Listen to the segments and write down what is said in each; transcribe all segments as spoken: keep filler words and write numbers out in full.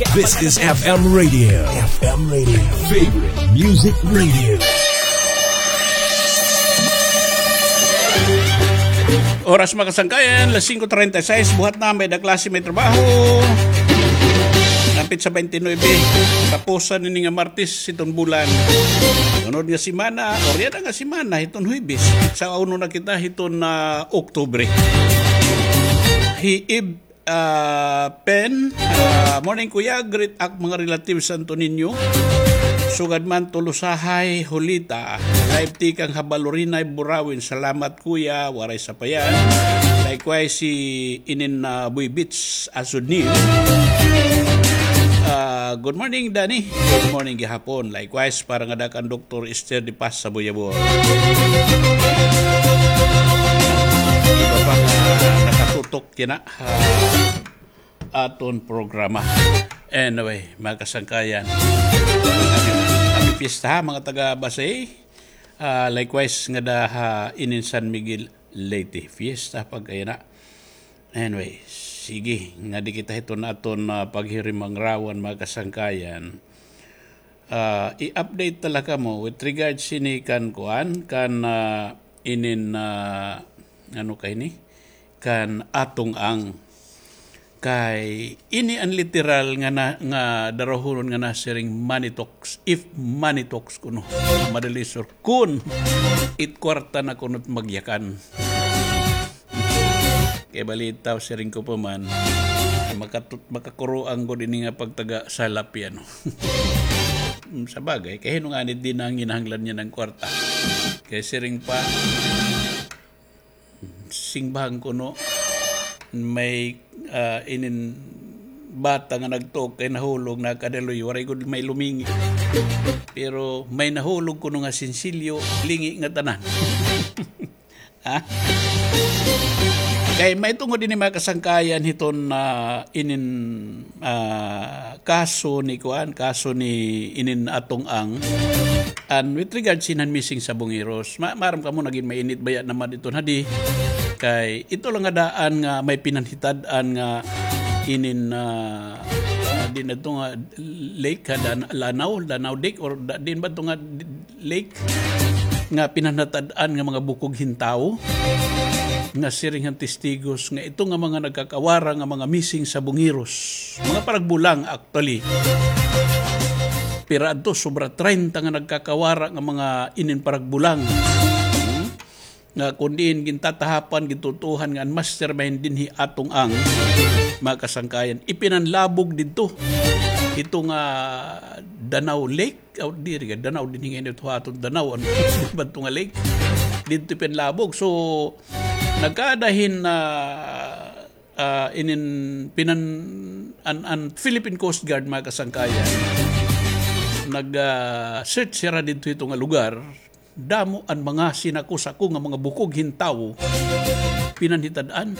This is F M Radio. F M Radio. Favorite Music Radio. Oras, mga kasangkayan, las singko treinta y seis, buhat na, may da klase, may trabaho. Hapit sa twenty-nine, tapusan ini nga Martes, iton bulan. Sunod nga semana, o riyan nga semana, iton Huwebes. Sa uno na kita, iton, ah, Oktubre. Hi Ib Ah, Pen, ah, morning, Kuya. Greet ak mga relatives sa Antonino. Sugad man Tolosahay, Julita. Live tikang Habalurinay, Burawin. Salamat, Kuya. Waray sapayan. Likewise, si inin, ah, Boy Beach, Asudni. Ah, good morning, Danny. Good morning, gihapon. Likewise, para ngada kan Doktor Esther de Paz sa Buyabor. Iba pa nga nakatutok yana ha aton programa. Anyway, mga kasangkayan, happy, happy fiesta ha, mga taga Basey. Ah, likewise, ngada ha inin San Miguel, Leyte. Fiesta pagkayana. Anyway, sige, ngadi kita hiton aton, ah, paghirimangrawan, mga kasangkayan. Ah, i-update ta la kamo with regards ini kan kuan, kan, ah, inin, ah, ano kay ni? Kan Atong Ang. Kay ini an literal nga na, nga darahunon nga nasiring money talks, if money talks kuno, madalisor. Kun it kwarta na kuno it magyakan. Kay balitaw, siring ko pa man, makatut-, makakuroang gud ini nga pagtaga salapyan. Sa bagay, kay hin-o ngani it di na nginahanglan niyan an kwarta. Kay siring pa, simbahan kuno, may, ah, inin bata nga nagtuok kay nahulog, nakadaluy, waray gud may lumingi. Pero may nahulog kuno nga sinsilyo, lingi nga tanan. Ha? Kay may tungod ini, mga kasangkayan, hiton, ah, inin, ah, kaso ni kuan, kaso ni inin Atong Ang. And with regards ining missing sa Bungiros, ma-, maaram kamo, nagin mainit baya naman ito na di. Kay ito lang nga daan nga may pinanhitad-an nga inin, ah, ah, di na ito nga lake, ha, dan-, Lanao, Lanao Lake, or da-, din ba ito nga lake nga pinanhatad-an nga mga bukog hin tawo, nga siring han testigos nga ito nga mga nagkakawara nga mga missing sa Bungiros, mga paragbulang, actually. Pira adto, sobra treinta nga nagkakawara nga mga inin paragbulang. Hmm? Nga kun diin gintatahapan, gintutuohan nga an mastermind dinhi Atong Ang, mga kasangkayan, ipinanlabog didto. Ito nga Danao Lake, aw, diri ka, Danao dinhi nga init, ha, aton Danao, ano, ba ito nga lake? Didto ipinanlabog. So, nagkaada hin, ah, ah, inin pinan-, an, an Philippine Coast Guard, mga kasangkayan, nag, ah, search hira didto, ito nga lugar. Damo an mga sinako-sako nga mga bukog hin tawo pinanhitad-an.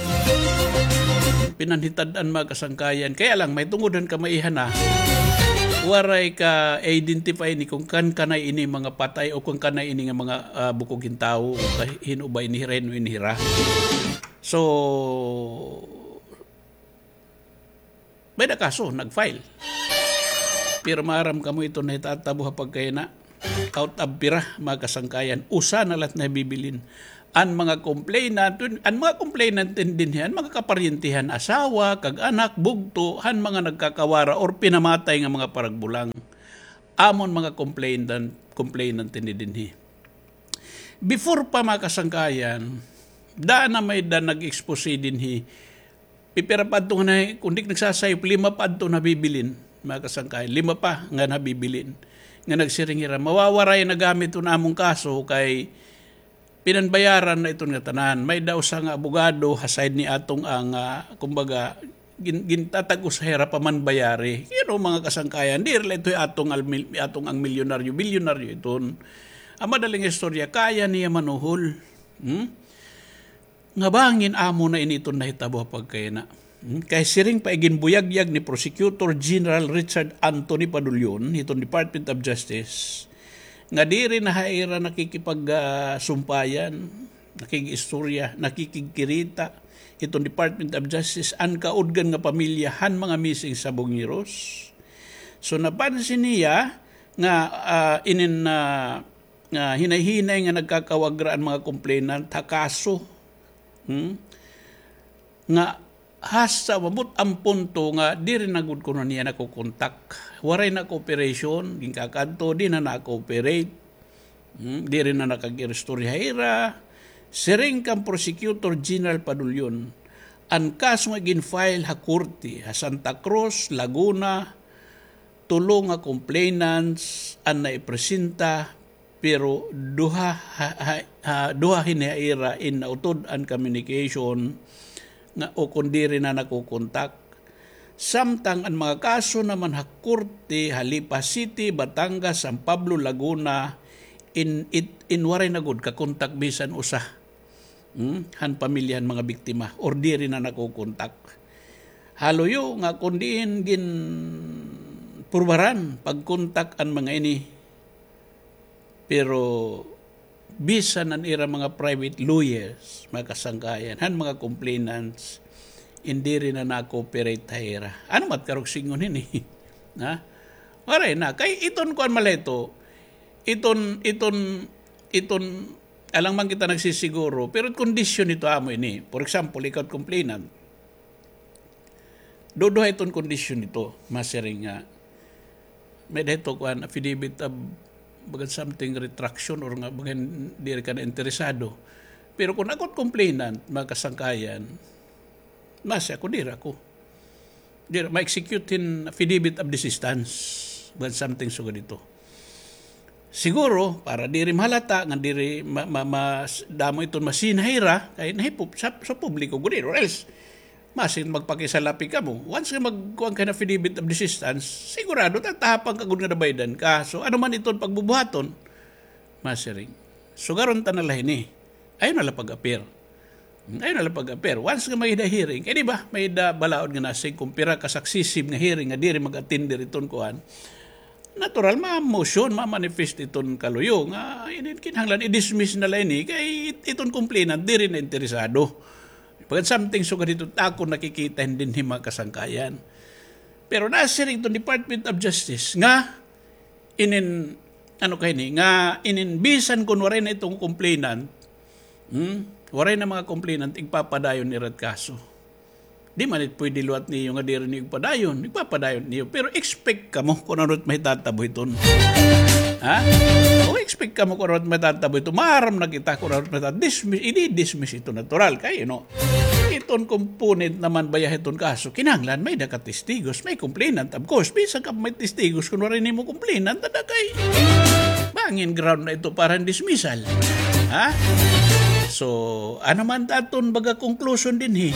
Pinanhitad-an, mga kasangkayan. Kaya lang, may tungod han kamaihan na, waray ka-identify ni kun kan-, kanay ini mga patay o kun kanay ini nga mga, ah, bukog hin tawo, o ka-, hin-o ba ini hira, hin-o ini hira. So, may-ada kaso, nag-file. Pero maaram kamo, ito nahitatabo ha pagkayana. Out of pira, mga kasangkayan, usa na la it nahibibilin. An mga complainant, an mga complainant dinhi, an mga kaparyentihan, asawa, kag anak, bugto, han mga nagkakawara or pinamatay nga mga paragbulang. Amon mga complainant, complainant dinhi. Before pa, mga kasangkayan, daan na may da nag-expose dinhi. Pipira pa adto nga na, kun di nagsasayop, lima pa adto nabibilin, mga kasangkayan. Lima pa nga nabibilin. Nga nagsiring hira, mawawaray na gamit iton amon kaso kay pinanbayaran na iton ngatanan. May da usa nga abogado ha side ni Atong Ang, ah, kumbaga, gin-, gintatag-os hira pa man bayari. Kay ano, mga kasangkayan, diri la ito hi Atong Ang mil-, Atong Ang milyonaryo, bilyonaryo iton. An madaling istorya, kaya niya manuhol. Hmm? Nga bangin amo na ini iton nahitabo ha pagkayana. Hmm? Kay siring pa, iginbuyagyag ni Prosecutor General Richard Anthony Padullon hiton Department of Justice nga diri na ha ira nakikipag, ah, sumpayan, nakig-istorya, nakikigkirita, iton Department of Justice an kaudgan nga pamilya han mga missing sa Bungiros. So, napansin niya nga, ah, inin, ah, nga hinay-hinay nga nagkakawagra an mga complainant ha kaso. Hmm? Nga hasta umabot an punto nga diri na gud kuno niya nakokontak. Waray na cooperation, ginkakadto, di na na-cooperate. Hmm, diri na nakag-iristorya ha ira. Siring kan Prosecutor General Padulyon, an kaso nga gin-file ha korte ha Santa Cruz, Laguna, tulo nga complainants an naipresenta, pero duha ha, ha, ha, duha hini ha ira in nautod an communication nga o kon diri na nakokontak. Samtang an mga kaso naman ha korte ha Lipa City, Batangas, San Pablo, Laguna, in, it, in waray na gud kakontak bisan usa, hmm, han pamilya han mga biktima or diri na nakokontak. Ha luyo nga kon diin ginpurbaran pagkontak an mga ini, pero bisan an ira mga private lawyers, mga kasangkayan, han mga complainants, in diri na na-cooperate ha ira. Ano mat karog singon hini? Ha? Waray na. Kay iton kuan man la ito, iton, iton, iton, alang man kita nagsisiguro, pero kondisyon ito amo ini. For example, ikaw complainant. Duduha iton kondisyon nito, masiring nga may-ada ito kuan, affidavit of bagan something retraction or nga bagan diri ka na interesado. Pero kon ako complainant, mga kasangkayan, masi ako, diri ako. Diri, ma-execute hin affidavit of desistance, bagan something sugad ito. Siguro, para diri mahalata, nga diri ma-, ma-, mas-, damo iton masina ha ira, kay nahipop-, sa, sa publiko gud, or else, masiring magpakisalapi kamo. Once nga magkuan ka hin affidavit of desistance, sigurado, tatahapang ka gud nga nabaydan ka. So, ano man iton pagbubuhaton, masiring, sugaron ta na la hini. Ayaw na la pag-appear. Ayaw na la pag-appear. Once nga may-ada hearing, kay di ba, may-ada balaod nga nasiring kon pira ka successive nga hearing nga diri mag-attend diri iton kuan. Natural, ma-motion, ma-manifest iton kaluyo nga, inin kinahanglan, i-dismiss na la ini, kay it-, iton complainant, diri na interesado. Pagkat something sugad ito, ako nakikita hin dinhi, mga kasangkayan. Pero nasiring iton Department of Justice nga, inin, ano kay ni, nga inin bisan kon waray na iton complainant, hmm, waray na mga complainant, igpapadayon nira it kaso. Di man it pwede liwat niyo nga diri niyo igpadayon, igpapadayon niyo. Pero expect kamo kon ano it mahitatabo hiton. Ha? O, expect kamo kon ano it mahitatabo hiton. Maaram na kita kon ano it mahitatabo. Dismiss, i-dismiss ito natural. Kay, you know, iton component naman baya hiton kaso, kinahanglan may-ada ka testigos, may complainant, of course. Bisan ka may testigos, kon waray nimo complainant, ada kay bangin ground na ito para hin dismissal. Ha? So, ano man ta aton baga conclusion dinhi?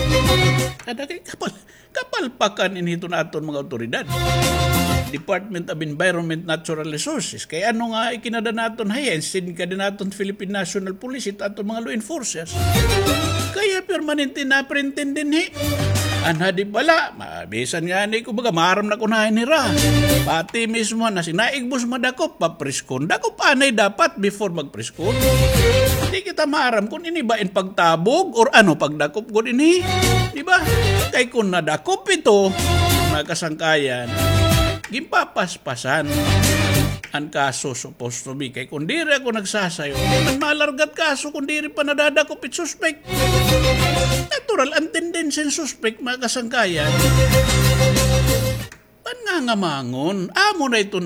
Ada kay kapal, kapalpakan ini hiton aton mga awtoridad. Department of Environment, Natural Resources. Kay ano nga ikinada naton ha iya, instead nga dida naton Philippine National Police, ito aton mga law enforcers. Kaya permanente na-print dinhi. Anha di bala, ma-, bisan ngani ko baga, maaram na ko na nira. Pati mismo na sinaigbos madakop, papriskon. Dakop anay dapat before magpriskon. Di kita maaram kon ini ba in pagtabog or ano, pagdakop gud ini. Di ba? Kay kon nadakop ito, mga kasangkayan, ginpapaspasan an kaso supposed to be. Kay kon diri ako nagsasayo, di man malarga it kaso kon diri pa nadadakop it suspect. Natural, an tendency hin suspect, mga kasangkayan, manngangamangon. Amo na iton